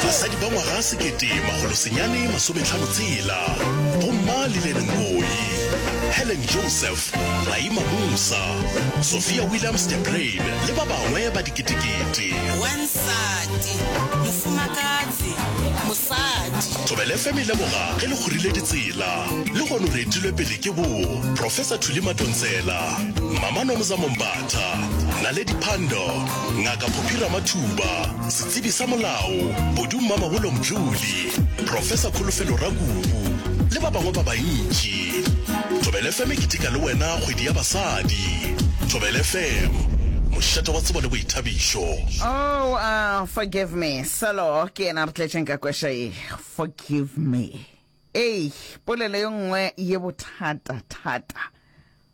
Basadi ba ngwaga 1956, Bomma Lillian Ngoyi, Helen Joseph, Raima Moosa, Sophia Williams de Bruyn le ba bangwe ba diketekete. Wansati, mofumakadzi, mosadi. Thobela FM e leboga ge le kgorile ditsela. Lehono re etilwe pele ke bo Professor Thuli Madonsela, Mama Nomzamo Mbatha, Naledi Pandor, Ngaka Phophi Ramathuba, setsebi sa molao, Bodu Mmamabolo Mdluli, Professor Kholofelo Rakubu le ba bangwe ba bantši. Thobela FM e keteka le wena kgwedi ya basadi. Thobela FM, mošate wa tsebo le boithabišo. Oh, uh, forgive me. Selo ke yena re tletšeng ka kweša ye. Forgive me. Ei, polelo ye nngwe ye bothata-thata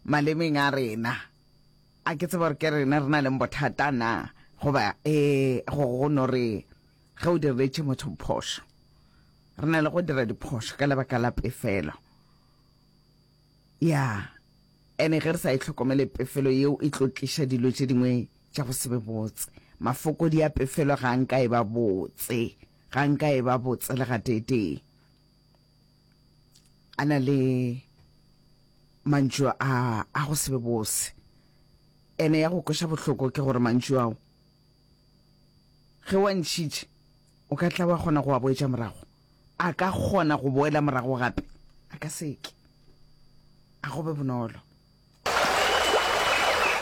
malemeng a rena. A ke tsebe gore ke rena re na leng bothata na goba e go go no re ge o diretše motho phošo. Re na le go dira diphošo ka lebaka la pefelo. Ya, ene ge re sa e hlokomele pefelo yeo e tlo tliša dilo tše dingwe tša go se be botse. Mafokodi a pefelo ga nka e ba botse, ga nka e ba botse le gateetee. A na le mantšu a a go se be bose. Ene ya go kweša bohloko ke gore mantšu ao ge wa ntšhitše o ka tla wa kgona go a boetša morago. A ka kgona go boela morago gape? A ka se ke. A go be bonolo.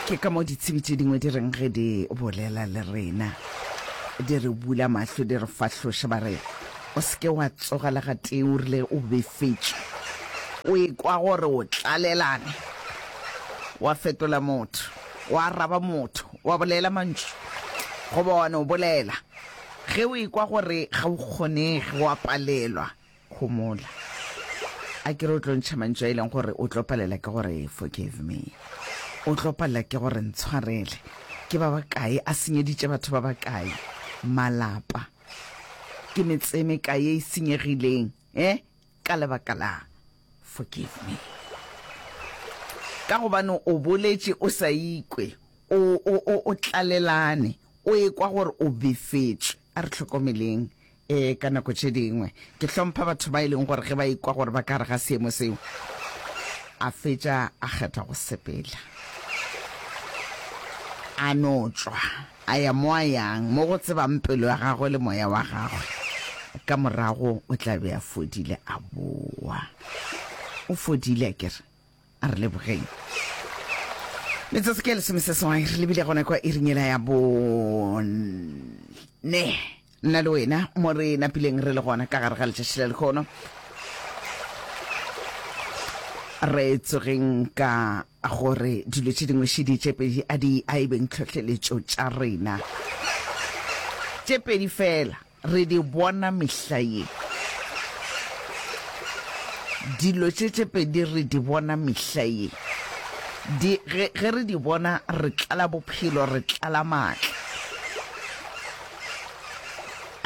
Ke ka mo ditsebi tše dingwe di reng ge di bolela le rena, di re bula mahlo, di re fahloša, ba re, O se ke wa tsoga le gatee o rile o befetšwe, o ekwa gore o tlalelane, wa fetola motho, wa araba motho, wa bolela mantšu, goba wa no bolela. Ge o ekwa gore ga o kgonege, wa palelwa, Homola. A ke re o tlo ntšha mantšu a e leng gore o tlo palela ke gore forgive me. O tlo palela ke gore ntshwarele. Ke ba bakae a senyeditše batho ba bakae malapa. Ke metse e mekae ye e senyegileng eh ka lebaka la forgive me. Ka gobane o boletše o sa ikwe, o o o o tlalelane, o ekwa gore o befetšwe. A re hlokomeleng Ee, ka nako tše dingwe ke hlompha batho ba e leng gore ge ba ikwa gore ba ka gare ga seemo seo, a fetša a kgetha go sepela. A no tšwa, a ya mo a yang, mo go tsebang pelo ya gagwe le moya wa gagwe. Ka morago o tla be a fodile, a boa. O fodile, akere? A re lebogeng. Metsotso ke lesomeseswai re lebile gona kwa iring yela ya bone. Nna le wena mo re napileng re le gona ka gare ga letšatši la lekgono. Re tsogeng ka gore dilo tše dingwe šedi tše pedi a di a e beng tlhohleletšo tša rena. Tše pedi fela Re di bona mehla ye. Dilo tše tše pedi re di bona mehla ye. Di, ge, ge re di bona, re tlala bophelo, re tlala maatla.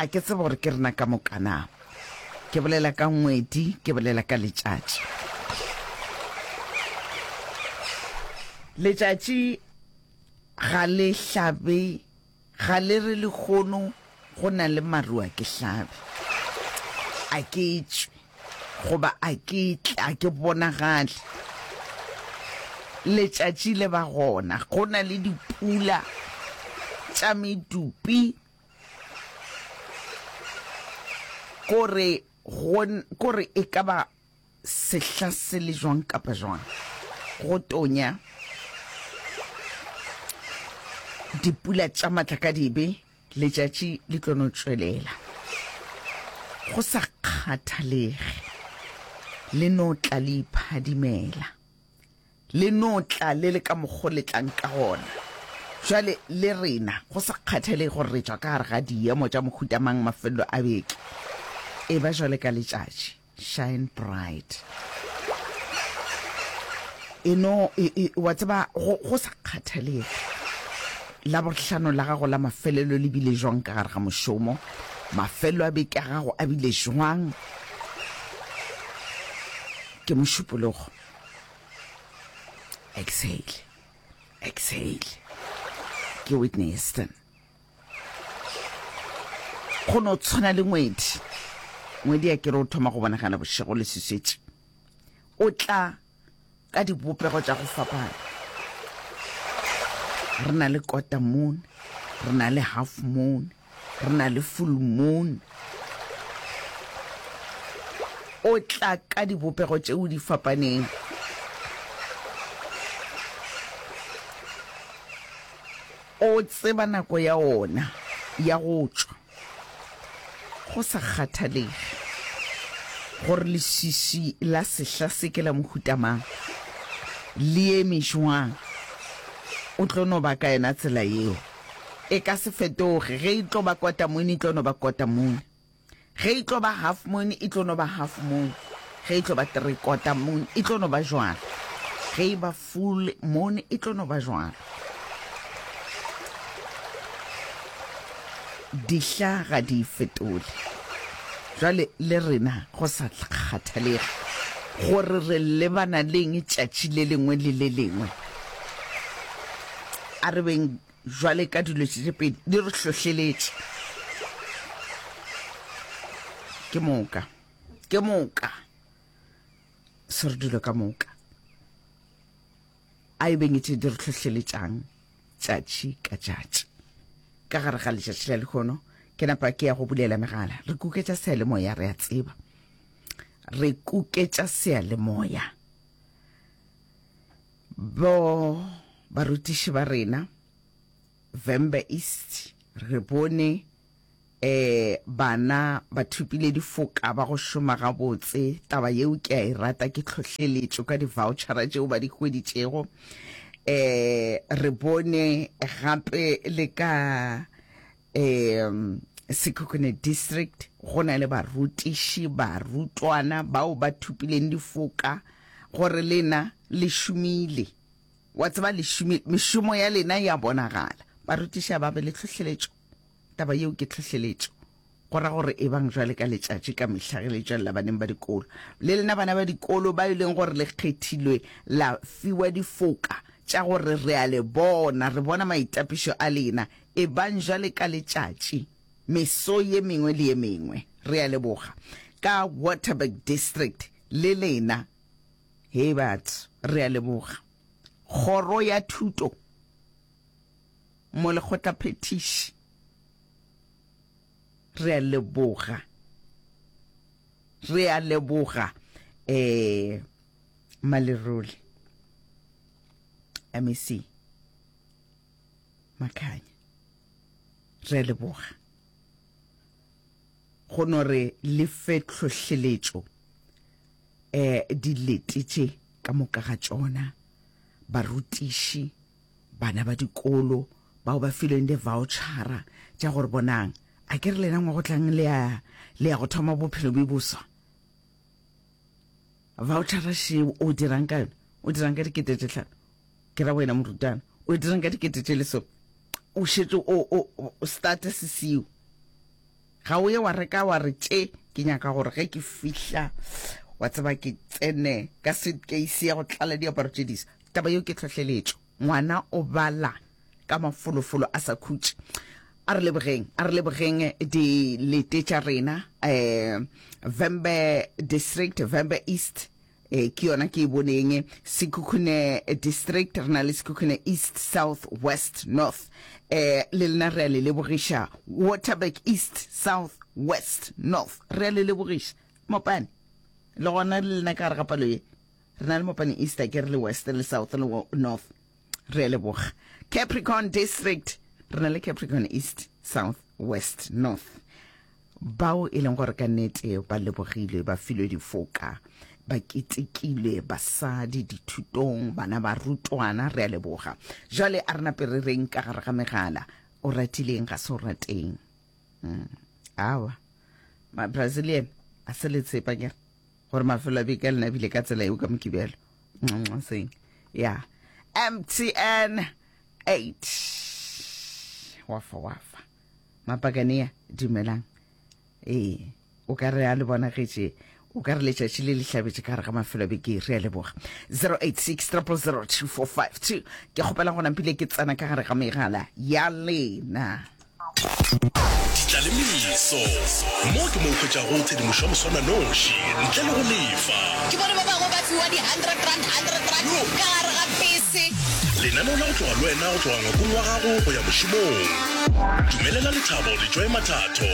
A ke tsebe gore ke rena ka moka na. Ke bolela ka ngwedi, ke bolela ka letšatši. Letšatši ga le hlabe Ga le re lehono go na le maru a ke hlabe, a ke tšwe, goba a ke tle, a ke bonagale. Letšatši le ba gona, go na le dipula tša medupi, kore go, kore e ka ba Sehla se le jwang kapa jwang, go tonya, dipula tša matlakadibe, letšatši le tlo no tšwelela. Go sa kgathalege, le no tla le iphadimela. Le no tla le le ka mokgo le tlang ka gona. Bjale, le rena, go sa kgathalege gore re tšwa ka gare ga diemo tša mohuta mang mafelelo a beke, eba jwale ka letšatši. Shine bright. E no, e, e, wa tseba, go, go sa kgathalege Labohlano la gago la mafelelo le bile jwang ka gare ga mošomo, mafelelo a beke a gago a bile jwang, ke Mošupologo. Exhale. Exhale. Ke Whitney Houston. Go no tshwana le ngwedi. Ngwedi ya kere o thoma go bonagala bošego le swiswetše. O tla ka dibopego tša go fapana. Re na le quarter moon, re na le half moon, re na le full moon. O tla ka dibopego tšeo di fapaneng. O tseba nako ya ona ya go tšwa, go sa kgathalege gore leswiswi la sehla se ke la mohuta mang, le eme jwang, o tlo no ba ka yona tsela yeo. E ka se fetoge. Ge e tlo ba quarter moon, e tlo no ba quarter moon. Ge e tlo ba half moon, e tlo no ba half moon. Ge e tlo ba three quarter moon, e tlo no ba jwalo. Ge e ba full moon, e tlo no ba jwalo. Dihla ga di fetole. Jwale le rena go sa kgathalege gore re lebana leng tšatši le lengwe le le lengwe, a re beng Jwale ka dilo tše tše pedi di re hlohleletše. Ke moka. Ke moka. Se re dilo ka moka. A e beng tše di re hlohleletšang tšatši ka tšatši. Ka gare ga letšatši la lehono, ke napa ke ya go bulela megala. Re kuketša seyalemoya, re a tseba. Re kuketša seyalemoya. Bo barutiši ba rena Vhembe East re bone eh bana ba thopile difoka ba go šoma gabotse. Taba yeo ke a e rata, ke tlhohleletšo ka di-vouchera tšeo ba di hweditšego. Eh re bone gape le ka eh Sekhukhune District go na le barutiši, barutwana bao ba thopileng difoka gore lena le šomile. Wa tseba le šomile, mešomo ya lena ya bonagala. Barutiši a ba be le tlhohleletšo. Taba yeo ke tlhohleletšo. Go ra gore ebang jwale ka letšatši ka mehla ge le tšwelela baneng ba dikolo. Le lena bana ba dikolo ba e leng gore le kgethilwe la fiwa difoka tša gore re a le bona, re bona maitapišo a lena, ebang jwale ka letšatši meso ye mengwe le ye mengwe. Re a leboga. Ka Waterberg District le lena. Hei batho, re a leboga. Kgoro ya Thuto, Molekgotlaphethiši, re a leboga. Re a leboga eh Malerole MEC Makhanya. Re a leboga. Go no re le fe tlhohleletšo eh dilete tše ka moka ga tšona, barutiši, bana ba dikolo bao ba filweng di-vouchera tša gore bonang, a ke re lena ngwa go tlang le ya le ya go thoma bophelo bjo boswa. Vouchera šeo o dirang ka yona? O dirang ka dikete tše tlhano? Ke ra wena morutana, o dirang ka dikete tše lesome? O šetše o o o start se seo. Ga o ye wa reka wa re tše ke nyaka gore ge ke fihla wa tseba ke tsene ka suitcase ya go tlala diaparo tše disa. Taba yeo ke tlhohleletšo. Ngwana o bala ka mafolofolo a sa khutše. A re lebogeng, a re lebogeng dilete tša rena um Vhembe District, Vhembe East, E, ke yona ke e boneng. Sekhukhune District, re na le Sekhukhune East, South, West, North. E, le lena re a le lebogiša. Waterberg East, South, West, North. Re a le lebogiša. Mopane, le gona le lena ka gare ga palo ye. Re na le Mopane East, a ke re le West, le South, le North. Re a leboga. Capricorn District, re na le Capricorn East, South, West, North. Bao e leng gore ka nnete ba lebogilwe, ba filwe difoka, ba ketekilwe, basadi dithutong, bana barutwana, re a leboga. Jwale a re nape re reng ka gare ga megala, o ratileng ga se o rateng. Mm. Awa, ma-Brazilian a se le tshepa kere gore mafelo a beke a lena bile ka tsela eo ka Mokibelo. Seng. Ya. MTN 8. Wafa wafa. Mapakania, dumelang. Ee, o ka re a le bonagetše. O ka re letšatši le le hlabetše ka gare ga mafelo a beke. Re a leboga. 086 000 2452. Ke kgopela gona mpile ke tsena ka gare ga megala ya lena. Ditlalemeso. Mo ke mo o hwetšago tshedimošo ya moswananoši ntle le go lefa. Ke bone ba bangwe ba fiwa di R100, R100 ka gare ga pese. Lenaneo la go tloga le wena go tloga ngwakong wa gago go ya mošomong. Dumelela lethabo le Joy Mathatho.